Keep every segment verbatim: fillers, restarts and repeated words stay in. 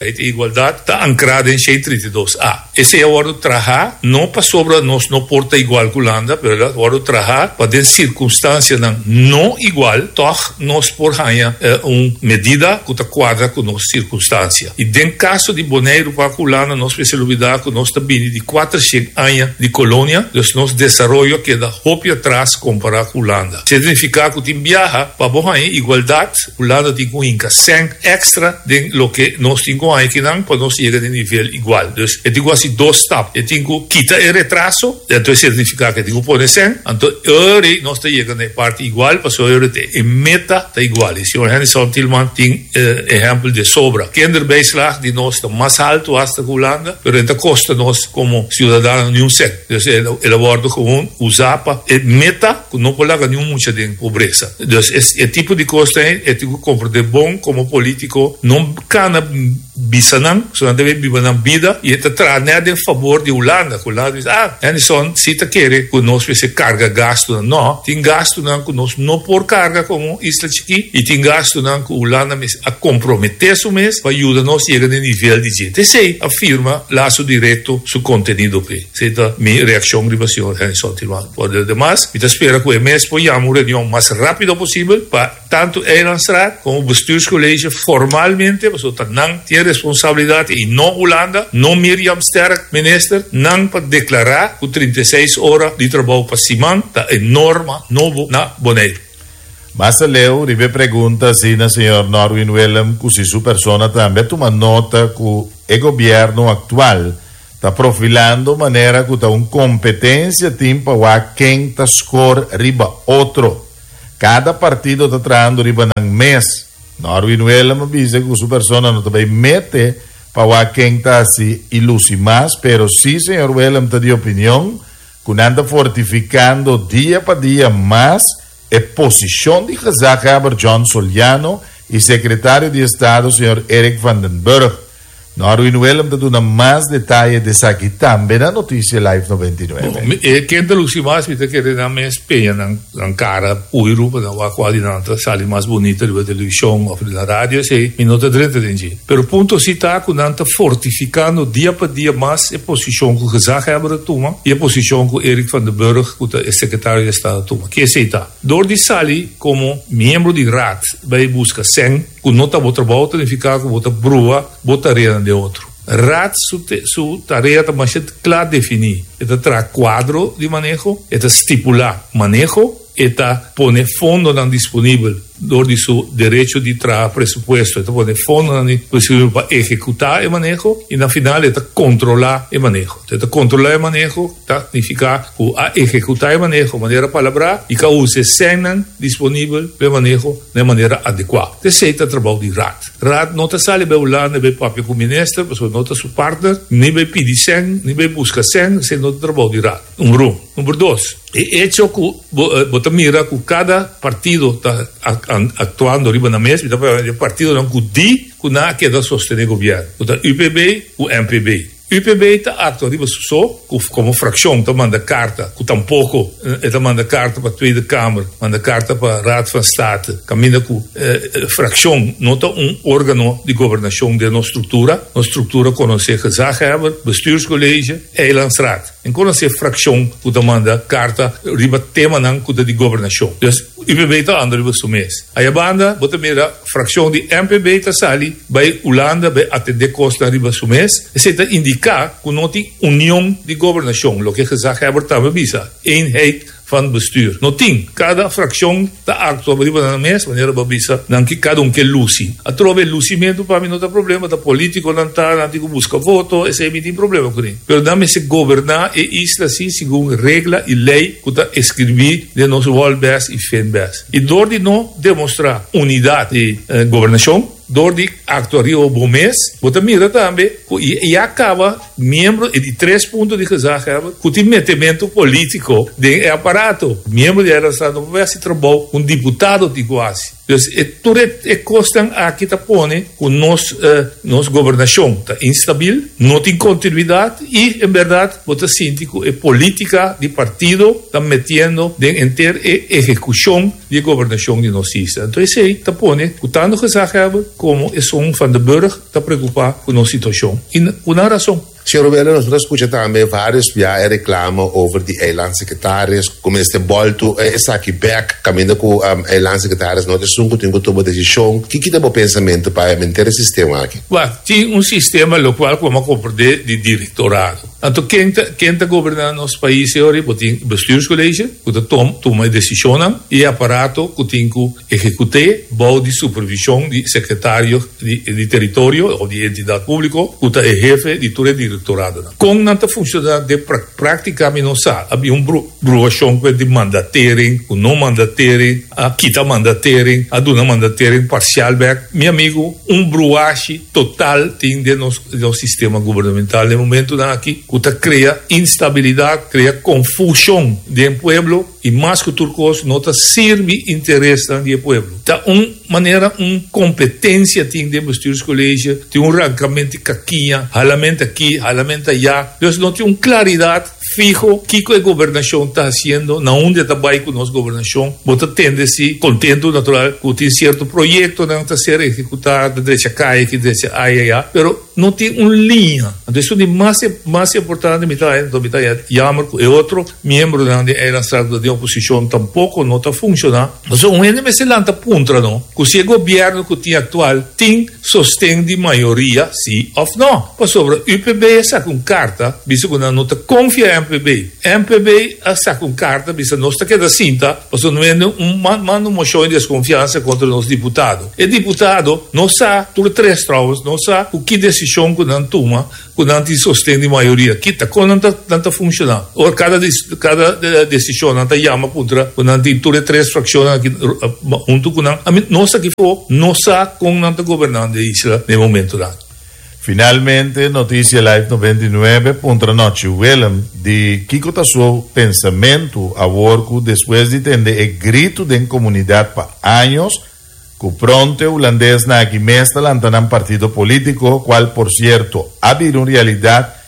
Igualdat ta ankrá den shen trinta i dos A. Esei a wòrdu trahá, no pasobra nos no por ta igual ku Hulanda, pero a wòrdu trahá pa den sirkunstansianan no igual, toch nos por haña eh, un medida ku ta kuadra ku nos sirkunstansia. I den kaso di Boneiru pa Hulanda, nos mester lubidá ku nos ta bini di kuatershen aña di kolonia, dus nos desaroyo a keda hopi atras kompará ku Hulanda. Signifiká ku tin biaha pa bo haña igualdat, Hulanda tin ku hinka sèn èkstra den loke nos tin ku akinan pa nos yega na nivel igual. Dus e tin ku hasi dos stap. E tin ku kita e retraso, anto signifiká ku e tin ku pone sèn, anto ora nos ta yega na parti igual, pasobra e meta ta igual. I señor Hennyson Thielman tin eh, ehèmpel di sobra. Kinderbijslag di nos ta mas haltu hasta ku Hulanda, pero e n' ta kosta nos komo siudadano ni un sèn. Dus el a wòrdu gewoon usá pa e meta ku no por laga ningun mucha den pobresa. Dus e tipo di kos e tin ku komprondé bon komo polítiko, no kana bisanan, so nan debe biba nan bida i ta traha na fabor di Hulanda. Hulanda diz, ah, Hennyson, si ta kere ku nos mester karga gastu, no, tin gastunan ku nos no por karga komo isla chikí i tin gastunan ku Hulanda mes a komprometé su mes pa yuda nos yega na nivel di dje. Esei a firma Laso Direkto su kontenido p'e. Esei ta mi reakshon riba señor Hennyson Thielman. Por lo demas, mi ta spera ku e mes por yama un reunion mas rápido posibel pa tantu Eilandsraad komo bestuurscollege formalmente, pasobra nan tin responsabilidat i no Hulanda, no Miriam Sterk, minister, nan pa deklará ku trinta i seis ora di trabou pa siman ta e norma nobo na Boneiru. Mas aleu, riba e pregunta asina, señor Norwin Willem, ku si su persona tambe a tuma nota ku e gobièrnu aktual ta profilando manera ku ta un kompetensia tin pa wak ken ta score riba otro. Kada partido ta trahando riba nan mes. Norwin Willem a bisa ku su persona no ta bai mete pa wak ken ta hasi i lusi mas, pero si señor Willem ta di opinion ku nan ta fortifikando dia pa dia mas e posishon di gezaghebber John Soliano i sekretario di Estado señor Eric van den Burg. Norwin Willem ta duna mas detaye di esaki tambe na Notisia Live nobenta i nuebe. E ken ta lusi mas, mi ta kere nan mes peña nan nan kara puiru pa nan wak kual di nan ta sali mas bunita riba televishon òf na radio, esei mi no ta drenta den dje. Pero punto si ta ku nan ta fortifikando dia pa dia mas e posishon ku gezaghebber a tuma i e posishon ku Eric van den Burg, ku ta e sekretario di Estado, a tuma. Ke esei ta? Dor di sali komo miembro di raad bai buska sèn ku no ta bo trabou, ta nifiká ku bo ta brua bo tarea di otro. Raad su, te, su tarea ta mas kla definí. E ta traha kuadro di maneho, e ta stipulá maneho, e ta pone fondonan disponibel dor di su derecho di traha presupuesto, e ta pone fondonan disponibel pa ehekutá e maneho i na final e ta kontrolá e maneho. E ta kontrolá e maneho, ta nifiká ku a ehekutá e maneho manera palabrá i ku a usa sènnan disponibel pa e maneho di manera adekuá. Esei ta trabou di raad. Raad no ta sali bai Hulanda bai papia ku minister, pasobra no ta su partner, ni bai pidi sèn, ni bai buska sèn, esei no ta trabou di raad. Number un. Number dos, e hecho ku bo ta mira ku kada partido ta aktuando riba nan mes, e partidonan ku di ku nan a keda sostené gobièrnu. Ta U P B ku M P B. U P B ta aktua riba su so, komo frakshon ta manda karta, ku tampoko ta manda karta pa Tweede Kamer, manda karta pa Raad van State, kaminda ku eh, frakshon no ta un órgano di gobernashon di nos struktura, nos struktura konosé gezaghebber, bestuurscollege, eilandsraad. N' konosé frakshon ku ta manda karta riba temanan ku ta di gobernashon. Dus U P B ta anda riba su mes. Ei banda, bo ta mira frakshon di M P B ta sali bai Hulanda bai atendé kos riba su mes. Esei ta indiká ku no tin union di gobernashon, loke gezaghebber tambe a bisa, eenheid van bestuur. No tin. Kada frakshon ta aktua riba nan mes, manera b'a bisa, nan ke kada un ke lusi. Atrobe lusimentu pa mi no ta problema, ta polítiko nan ta, nan tin ku buska voto, esei mi tin problema kuné. Pero nan mester goberná e isla asina segun regla i lei ku ta skirbí den nos Wolbes i Finbes. I dor di no demostrá unidat di eh, gobernashon, dor di aktua riba bo mes, bo ta mira tambe i, i a kaba miembro e di tres punto di gezaghebber ku tin metementu polítiko den e aparato. Miembro di eilandsraad no por hasi trabou un diputado tin ku hasi. Dus e tur e kosnan aki ta pone ku nos uh, nos gobernashon ta instabil, no tin kontinuidat i en berdat bo ta sinti ku e polítika di partido ta metiendo den henter e ehekushon di gobernashon di nos isla. Anto esei ta pone ku tantu gezaghebber komo esun Van den Burg ta preokupá ku nos situashon. I ku nan rason. Señor Roberto, nos a skucha tambe vários biaha reklamo over di eilandsecretaris, ku mester boltu esaki bèk, kaminda ku um, eilandsecretaris no ta esun ku tin ku tuma desishon. Kiko ta bo pensamentu pa henter e sistema aki? Well, tin un sistema lokual komo komprondé di direktorado. Anto, ken ta, ken ta gobernando nos pais awor, tin bestuurscollege, ku ta tuma desishon i aparato ku tin ku ehekutá bou di supervishon di sekretario di, di teritorio òf di entidat públiko, ku ta e hefe di tur direktorado. Kon nan ta funshoná den práktika mi no sa. Tabatin un bruashon di mandatering, ku no mandatering, a kita mandatering, a duna mandatering parsial bèk. Mi amigu, un bruashi total tin den nos, nos sistema gubernamental na momento aki, ku ta krea instabilidat, krea konfushon den pueblo i mas ku tur kos no ta sirbi interes di pueblo. Ta un manera, un kompetensia tin den bestuurscollege, tin un rankamentu kakiña, halamentu aki, halamentu aya. Dus no tin un klaridat fiho kiko e gobernashon ta hasiendo, na unda ta bai ku nos gobernashon. Bo ta tende si kontentu natural ku tin sierto proyektonan ta ser ehekutá, drecha kaya aki, drecha aya, pero no tin un liña. Anto, esei ta mas mas importante, mi ta, mi ta jammer ku e otro miembronan di eilandsraad di oposishon tampoko no ta funshoná. Anto, un hende mester lanta puntra, no? Ku si e gobièrnu ku tin aktual tin sosten di mayoria, si òf no. Pasobra U P B a saka un karta, bisa ku no ta konfia M P B. M P B a saka un karta, bisa nos ta keda sinta, pasobra no un manda un moshon di deskonfiansa kontra nos diputado. E diputado no sa, tur tres trouwens, no sa ki desishon ku nan tuma, ku nan tin sosten di mayoria. Kita kon nan ta funshoná. Òf kada kada desishon nan ta yama kontra ku nan tin tur tres frakshon aki huntu ku nan. Ami nos aki fo no sa kon nan ta gobernando e isla na momento aki. Finalmente, Notisia Live nobenta i nuebe puntra Nochi Willem di kiko ta su pensamentu awor ku despues di tende e gritu den komunidat pa aña ku pronto hulandesnan aki mes ta lanta nan partido polítiko, kual por sierto a bira un realidat,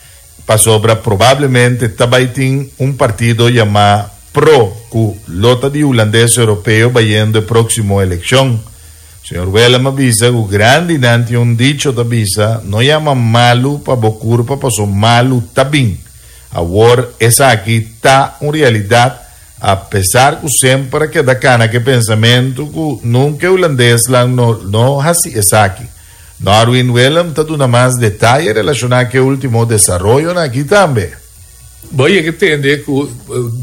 pasobra probablemente tambe tin un partido yamá PRO, ku lo ta di hulandes europeo bayendo e próksimo elekshon. Señor Willem a bisa, ku grandinan tin un dicho ta bisa, no yama malu pa bo kurpa, paso malu ta bin. Awor, esaki ta un realidat, apesar ku semper keda kana ku pensamentu ku nunka hulandesnan no no hasi esaki. Norwin Willem ta duna mas detaye relashoná ku e último desaroyo aki tambe. Bo a tende ku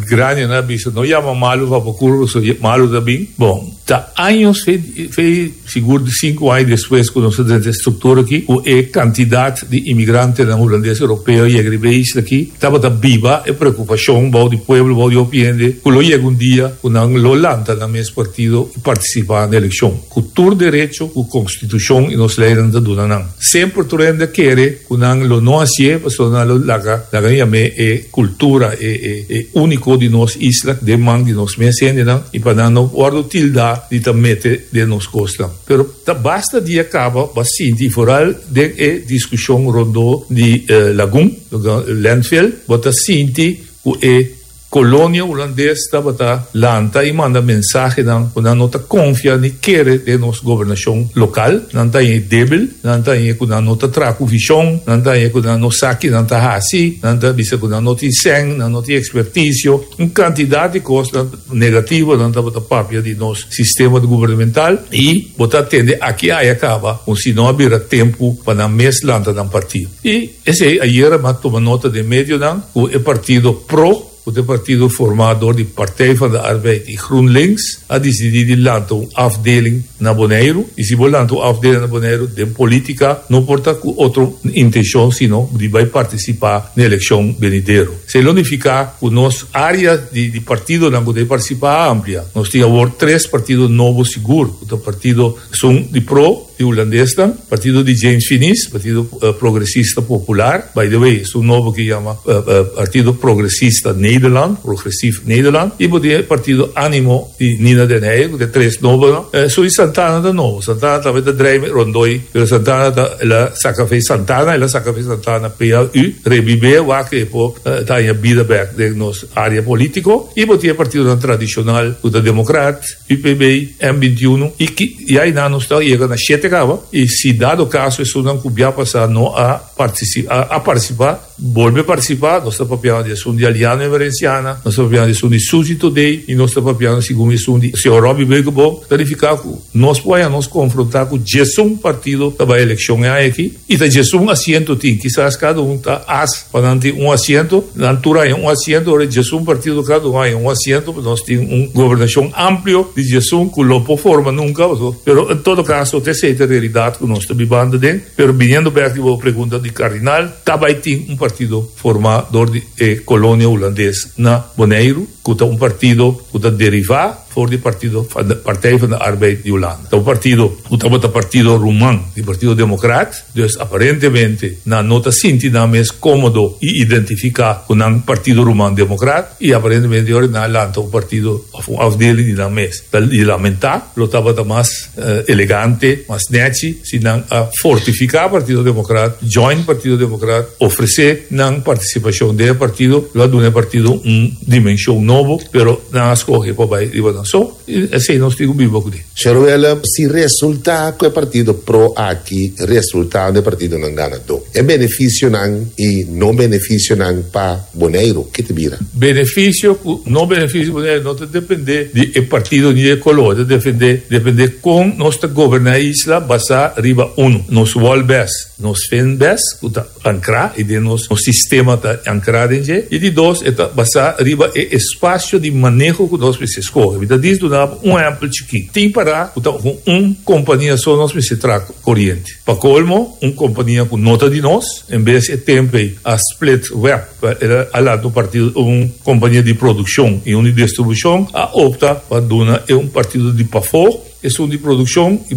grandinan a bisa, no yama malu pa bo kurpa, so malu ta bin. Bon, ta aña, fe sigur di sinku aña despues ku nos a struktura aki, e kantidat di imigrantenan hulandes europeo yega riba isla aki, tabata biba e preokupashon bou di pueblo, bou di opinion, ku lo yega un dia ku nan lo lanta nan mes partido i partisipá na elekshon. Ku tur derecho, ku konstitushon i nos leinan ta duna nan. Semper tur hende a kere ku nan lo no hasié, pasobra nan lo laga, laga yam'é e kultura e, e, e úniko di nos isla, den man di nos mes hendenan, i pa nan no wòrdu tildá di ta mete den nos kosnan. Pero ta basta dia kaba, b'a sinti vooral den e diskushon rondó di eh, Lagun, landfill, bo ta sinti ku e kolonia hulandes tabata lanta i manda mensahenan ku nan no ta konfia ni kere den nos gobernashon lokal, nan ta débil, nan ta ku nan no ta traha ku vishon, nan ta ku nan no sa ki nan ta hasi, nan ta bisa ku nan no tin sèn, nan no tin ekspertisio, un kantidat di kos negativo nan tabata papia di nos sistema gubernamental i bo ta tende aki aya kaba un si no a bira tempu pa nan mes lanta nan partido. I esei ayera m'a tuma nota den medionan ku e partido PRO, e partido formá dor di Partij van de Arbeid i GroenLinks, a disidí di lanta un afdeling na Boneiru. I si bo lanta un afdeling na Boneiru, den polítika, no por ta ku otro intenshon, sino di bai partisipá na elekshon benidero. Esei ta nifiká ku nos área di, di partidonan ku partisipá amplia. Nos tin awor tres partido nobo sigur. E partido esun di PRO, di hulandes, partido di James Finies, Partido uh, Progresista Popular, by the way, e nobo ku yama uh, uh, Partido Progresista Nederland, Progressief Nederland, i e partido Animo di Nina den Heyer, ku tres nobo, no? Uh, so Santana ta nobo, Santana tabata drei rondó, pero Santana ta, el a saka fo'i Santana, el a saka fo'i Santana P A U, rebibe, wak e por ta haña bida bèk den nos área polítiko, i bo tin partido tradishonal, o Democraat, U P B, M bintiun, i ku i ei nos ta yega na shete kaba, i si dado kaso esnan ku a pasa no a partisipá, a, a partisipá, bolbe partisipá, nos ta papiando di esun di Aliano Emerenciana, nos ta papiando di esun di Suzy Thodé, i nos ta papiando segun esun di señor Robbie Beukeboom, verifiká ku nos por nos konfrontá ku diesun partido ta bai elekshon aki, i ta diesun asiento tin, kisas kada un ta as pa nan tin un asiento, nan tur un asiento, ora diesun partido kada un un asiento, nos tin un gobernashon amplio di diesun ku no por forma nunka, pero en todo kaso, esei ta e realidat ku nos ta bibando aden, pero biniendo bèk e pregunta di Kardinal, tambe tin un partido formá dor di eh, kolonia hulandes na Boneiru, ku ta un partido ku ta derivá for di partido Partij van de Arbeid di Hulanda. Un partido ku tabata partido ruman, di Partido Democraat, dus aparentemente nan no ta sinti nan mes kómodo i identifiká ku un partido ruman Democraat i aparentemente awor nan a lanta un partido òf un afdeling di nan mes. I lamentá, lo tabata mas uh, elegante, mas nèchi, si nan a fortifiká Partido Democraat, join Partido Democraat, ofresé nan partisipashon den partido, lo duna partido un dimenshon nobo, pero nan a skohe pa bai riba nan so, i asina nos tin ku biba kuné. Señor, si resultá ku e partido PRO aki resultá e partido nan ganadó, e benefisionan i no benefisionan pa Boneiru, kiko ta bira? Benefisio, no benefisio Boneiru, no ta dependé di partido ni di koló, ta dependé, dependé kon nos ta goberná e isla basá riba un, nos wal bes, nos fin bes, ku ta ankrá, i den nos, nos sistema ta ankrá den i di dos, ta basá riba e espasio di maneho ku nos mester skohe. Mi ta duna un ehèmpel chikí. Tin pará, un kompania so nos mester traha koriente. Pa kolmo, un kompania ku no ta di nos, en bes di tempu a split W E B, el a lanta un partido, un kompania di produkshon i un di distribushon, a opta pa duna un partido di pafó, e un di produkshon i